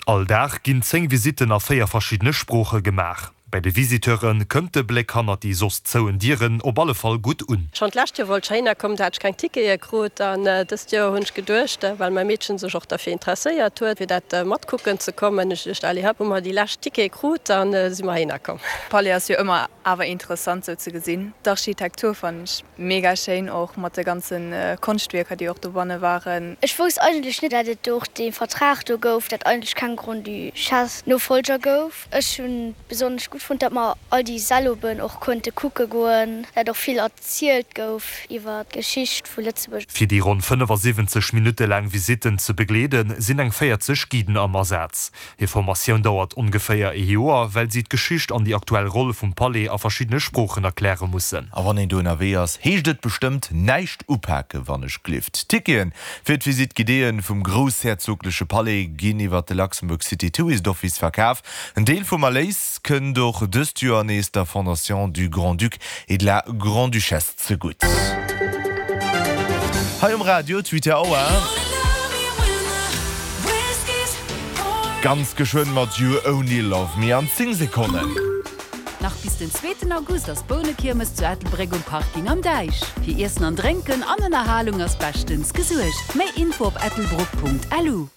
All Dag ginn 10 Visitten a 4 verschiddene Sprooche gemaach. Bei de Visiteure kënnt de Bléck hannert déi soss zouen Dieren op alle Fall gutt un. Schonn d'lescht Joer wollt ech heihinner kommen, do hat ech keng Tickete krut. An dëst Joer hunn ech geduecht, well mäi Meedchen sech och derfir interesséiert huet, fir dat matkucken ze kommen, hunn ech geduecht, allez hop, hu mer déi lescht Tickete krut an si mer heihinner komm. Palais ass jo ëmmer awer interessant sou ze gesinn. D'Architektur fannen ech mega schéin, och mat de ganzen Konschtwierker déi och dobanne waren. Ech wousst eigentlech net dat et do och dee Vertrag do gouf, dat eigentlech keng Grande-Duchesse Nofolger gouf. Ech hunn besonnesch gutt fonnt, dat mer all déi Säll oben och konnte kucke goen, dat och vill erzielt gouf iwwer d'Geschicht vu Lëtzebuerg. Fir déi ronn 75 Minutte laang Visitten ze begleeden, sinn eng 40 Guiden am Asaz. Hir Formatioun dauert ongeféier ee Joer, well si d'Geschicht an déi aktuell Roll vum Palais a verschiddene Sproochen erkläre mussen. A wann een do ënnerwee ass, heescht et bestëmmt näischt upaken, wann ech glift. D'Ticketen fir d'Visite guidéeën vum groussherzogleche Palais ginn iwwer de Luxembourg City Tourist Office verkaf. En Deel vum Erléis kënnt och dëst Joer nees der Fondation du Grand-Duc et de la Grande-Duchesse zegutt. Hei um Radio d'Huit Auer. Ganz geschwënn mat You Only Love Me an 10 Sekonnen. Nach bis den zweeten August ass d'Bounekiermes zu Ettelbréck um Parking am Däich. Fir Iessen an Drénken an Ënnerhalung ass beschtens gesuergt. Méi Info op ettelbruck.lu.